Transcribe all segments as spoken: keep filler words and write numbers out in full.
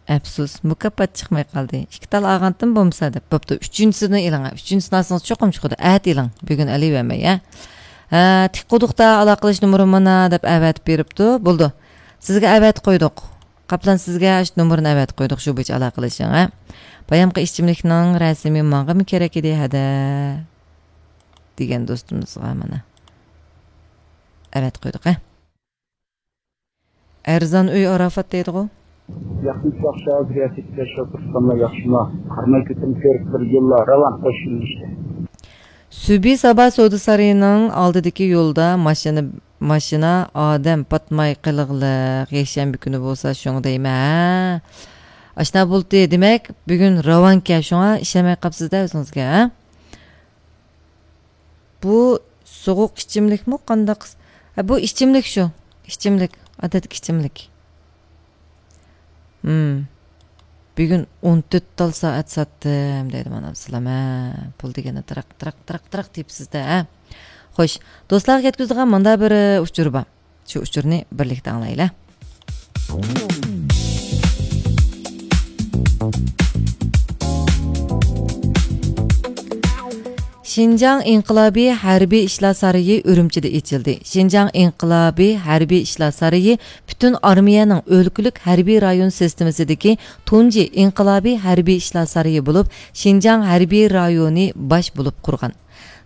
ئەپسۇس، مۇكاپات چىقماي قالدى. ئىككى تال ئالغانتىم بولمىسا دەپ. بوپتۇ، ئۈچىنچىسىنى ئېلىڭ. ئۈچىنچىسىنى ئالسىڭىز چوقۇم چىقىدۇ. ئەتە ئېلىڭ. بۈگۈن ئېلىۋەرمەي، ھە. ھە، تىك قۇدۇقتا ئالاقىلىشىش نومۇرۇم مانا دەپ ئەۋەتىپ بېرىپتۇ. بولدى. سىزگە ئەۋەتىپ قويدۇق. قاپلان، سىزگە ئاشۇ نومۇرنى ئەۋەتىپ قويدۇق، شۇ بويىچە ئالاقىلىشىڭ، ھە. بايامقى ئىچىملىكنىڭ رەسىمى ماڭىمۇ كېرەك ئىدى، ھەدە. دېگەن دوستىمىزغا مانا. ئەۋەتىپ قويدۇق، ھە. ئەرزان ئۆي ئاراپات دەيدىغۇ. ياخشىمۇ، ياخشى، ھازىر ياتىپ كېتىش ئوتتۇرىسىلاملا ياخشىما؟ قارىماي كۆتۈرۈپ كۆرۈپ بىر يوللا راۋان قوشۇلۇشتى. سۈبى سابا سودا سارىيىنىڭ ئالدىدىكى يولدا ماشىنا، ماشىنا، ئادەم پاتماي قېلىغلىق، يەكشەنبە كۈنى بولسا شۇڭا دەيمەن، ھە. ئاشنا بولدى، دېمەك، بۈگۈن راۋانكەن، شۇڭا ئىشەنمەي قاپسىز-دە ئۆزىڭىزگە، ھە. بۇ سوغۇق ئىچىملىكمۇ قانداق؟ ھە، بۇ ئىچىملىك شۇ. ئىچىملىك، ئادەتتىكى ئىچىملىك. ھىم. بۈگۈن ئون تۆت تال سائەت ساتتىم دەيدۇ مانا ئابدۇسالام، ھە. پۇل دېگەننى تىراق، تىراق، تىراق، تىراق تېپىسىز-دە، ھە. خوش، دوستلارغا يەتكۈزىدىغان مۇندا بىر، ئى، ئۇچۇر بار. شۇ ئۇچۇرنى بىرلىكتە ئاڭلايلى. شىنجاڭ ئىنقىلابىي ھەربىي ئىشلار سارىيى ئۈرۈمچىدە ئېچىلدى. شىنجاڭ ئىنقىلابىي ھەربىي ئىشلار سارىيى پۈتۈن ئارمىيەنىڭ ئۆلكىلىك ھەربىي رايون سىستېمىسىدىكى تۇنجى ئىنقىلابىي ھەربىي ئىشلار سارىيى بولۇپ، شىنجاڭ ھەربىي رايونى باش بولۇپ قۇرغان.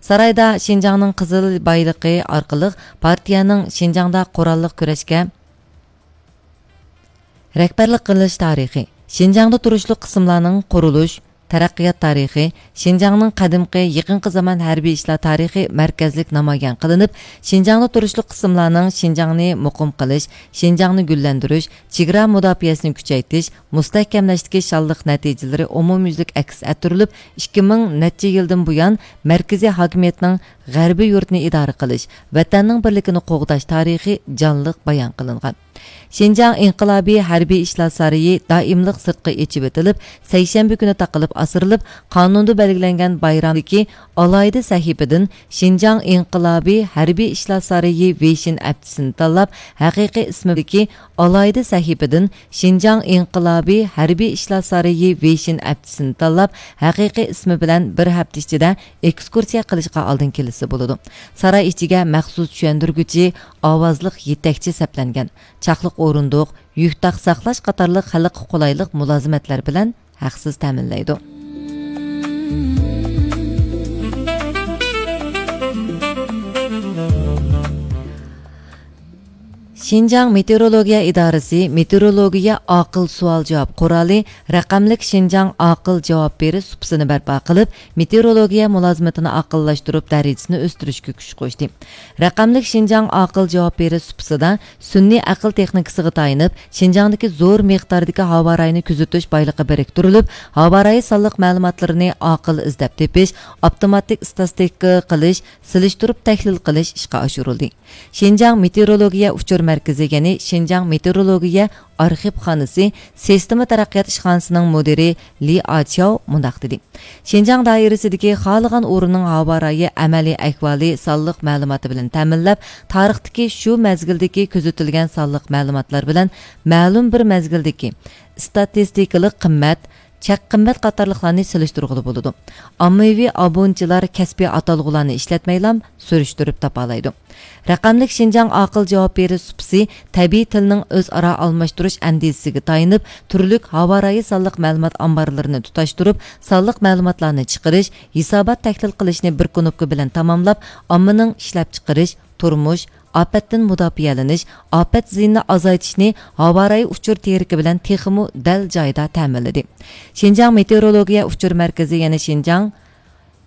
سارايدا شىنجاڭنىڭ قىزىل بايلىقى ئارقىلىق پارتىيەنىڭ شىنجاڭدا قوراللىق كۈرەشكە رەھبەرلىك قىلىش تارىخى، شىنجاڭدا تۇرۇشلۇق قىسىملارنىڭ قۇرۇلۇش، تەرەققىيات تارىخى، شىنجاڭنىڭ قەدىمكى، يېقىنقى زامان ھەربىي ئىشلار تارىخى مەركەزلىك نامايان قىلىنىپ، شىنجاڭدا تۇرۇشلۇق قىسىملارنىڭ شىنجاڭنى مۇقىم قىلىش، شىنجاڭنى گۈللەندۈرۈش، چېگرا مۇداپىئەسىنى كۈچەيتىش، مۇستەھكەملەشتىكى شانلىق نەتىجىلىرى ئومۇميۈزلۈك ئەكس ئەتتۈرۈلۈپ، ئىككى مىڭ نەچچە يىلدىن بۇيان مەركىزىي ھاكىمىيەتنىڭ غەربىي يۇرتنى ئىدارە قىلىش، ۋەتەننىڭ بىرلىكىنى قوغداش تارىخى جانلىق بايان قىلىنغان. شىنجاڭ ئىنقىلابىي ھەربىي ئىشلار سارىيى دائىملىق سىرتقا ئېچىۋېتىلىپ، سەيشەنبە كۈنى تاقىلىپ ئاسرىلىپ، قانۇندا بەلگىلەنگەن بايرامدىكى ئالاھىدە سەھىپىدىن شىنجاڭ ئىنقىلابىي ھەربىي ئىشلار سارىيى ۋېيشىن ھەپتىسىنى تاللاپ، ھەقىقىي ئىسمىدىكى ئالاھىدە سەھىپىدىن شىنجاڭ ئىنقىلابىي ھەربىي ئىشلار سارىيى ۋېيشىن ھەپتىسىنى تاللاپ، ھەقىقىي ئىسمى بىلەن بىر ھەپتە ئىچىدە ئېكسكۇرسىيە قىلىشقا ئالدىن كېلىشسە بولىدۇ. ساراي ئىچىگە مەخسۇس چۈشەندۈرگۈچى، ئاۋازلىق يېتەكچى سەپلەنگەن. چاقلىق ئورۇندۇق، يۈك تاق ساقلاش قاتارلىق خەلققە قولايلىق مۇلازىمەتلەر بىلەن ھەقسىز تەمىنلەيدۇ. شىنجاڭ مېتېئورولوگىيە ئىدارىسى مېتېئورولوگىيە ئاقىل سوئال-جاۋاب قورالى رەقەملىك شىنجاڭ ئاقىل جاۋاب بېرىش سۇپىسىنى بەرپا قىلىپ، مېتېئورولوگىيە مۇلازىمىتىنى ئاقىللاشتۇرۇپ، دەرىجىسىنى ئۆستۈرۈشكە كۈچ قوشتى. رەقەملىك شىنجاڭ ئاقىل جاۋاب بېرىش سۇپىسىدا سۈنئىي ئەقىل تېخنىكىسىغا تايىنىپ، شىنجاڭدىكى زور مىقداردىكى ھاۋارايىنى كۆزىتىش بايلىقى بىرىكتۈرۈلۈپ، ھاۋارايى سانلىق مەلۇماتلىرىنى ئاقىل ئىزدەپ تېپىش، ئاپتوماتىك ئىستاتىستىكا قىلىش، سېلىشتۇرۇپ تەھلىل قىلىش ئىشقا ئاشۇرۇلدى. شىنجاڭ مېتېئورولوگىيە ئۇچۇر مەركىزى، يەنى شىنجاڭ مېتېئورولوگىيە ئارخىپخانىسى سىستېما تەرەققىيات ئىشخانىسىنىڭ مۇدىرى لى ئاچياۋ مۇنداق دېدى: شىنجاڭ دائىرىسىدىكى خالىغان ئورۇننىڭ ھاۋارايى ئەمەلىي ئەھۋالى سانلىق مەلۇماتى بىلەن تەمىنلەپ، تارىختىكى شۇ مەزگىلدىكى كۆزىتىلگەن سانلىق مەلۇماتلار بىلەن مەلۇم بىر مەزگىلدىكى ئىستاتىستىكىلىق قىممەت، چەك قىممەت قاتارلىقلارنى سېلىشتۇرغىلى بولىدۇ. ئاممىۋى ئابۇنىچىلار كەسپىي ئاتالغۇلارنى ئىشلەتمەيلا سۈرۈشتۈرۈپ تاپالايدۇ. رەقەملىك شىنجاڭ ئاقىل جاۋاب بېرىش سۇپىسى تەبىئىي تىلنىڭ ئۆزئارا ئالماشتۇرۇش ئەندىزىسىگە تايىنىپ، تۈرلۈك ھاۋارايى سانلىق مەلۇمات ئامبارلىرىنى تۇتاشتۇرۇپ، سانلىق مەلۇماتلارنى چىقىرىش، ھېسابات تەھلىل قىلىشنى بىر كۇنۇپكا بىلەن تاماملاپ، ئاممىنىڭ ئىشلەپچىقىرىش، تۇرمۇش، ئاپەتتىن مۇداپىئەلىنىش، ئاپەت زىيىنىنى ئازايتىشنى ھاۋارايى ئۇچۇر تېرىكى بىلەن تېخىمۇ دەل جايىدا تەمىنلىدى. شىنجاڭ مېتېئورولوگىيە ئۇچۇر مەركىزى، يەنى شىنجاڭ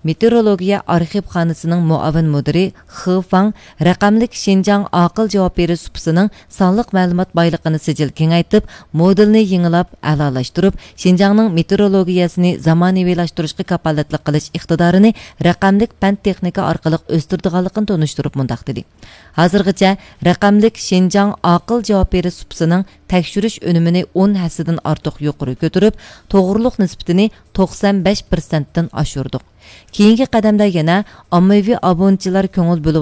مېتېئورولوگىيە ئارخىپخانىسىنىڭ مۇئاۋىن مۇدىرى خې فاڭ رەقەملىك شىنجاڭ ئاقىل جاۋاب بېرىش سۇپىسىنىڭ سانلىق مەلۇمات بايلىقىنى سىجىل كېڭەيتىپ، مودېلنى يېڭىلاپ، ئەلالاشتۇرۇپ، شىنجاڭنىڭ مېتېئورولوگىيەسىنى زامانىۋىلاشتۇرۇشقا كاپالەتلىك قىلىش ئىقتىدارىنى رەقەملىك پەن تېخنىكا ئارقىلىق ئۆستۈرىدىغانلىقىنى تونۇشتۇرۇپ مۇنداق دېدى: ھازىرغىچە رەقەملىك شىنجاڭ ئاقىل جاۋاب بېرىش سۇپىسىنىڭ تەكشۈرۈش ئۈنۈمىنى ئون ھەسسىدىن ئارتۇق يۇقىرى كۆتۈرۈپ، توغرىلىق نىسبىتىنى توقسان بەش پىرسەنتتىن ئاشۇردۇق. كېيىنكى قەدەمدە يەنە ئاممىۋى ئابۇنىچىلار كۆڭۈل بۆلۈپ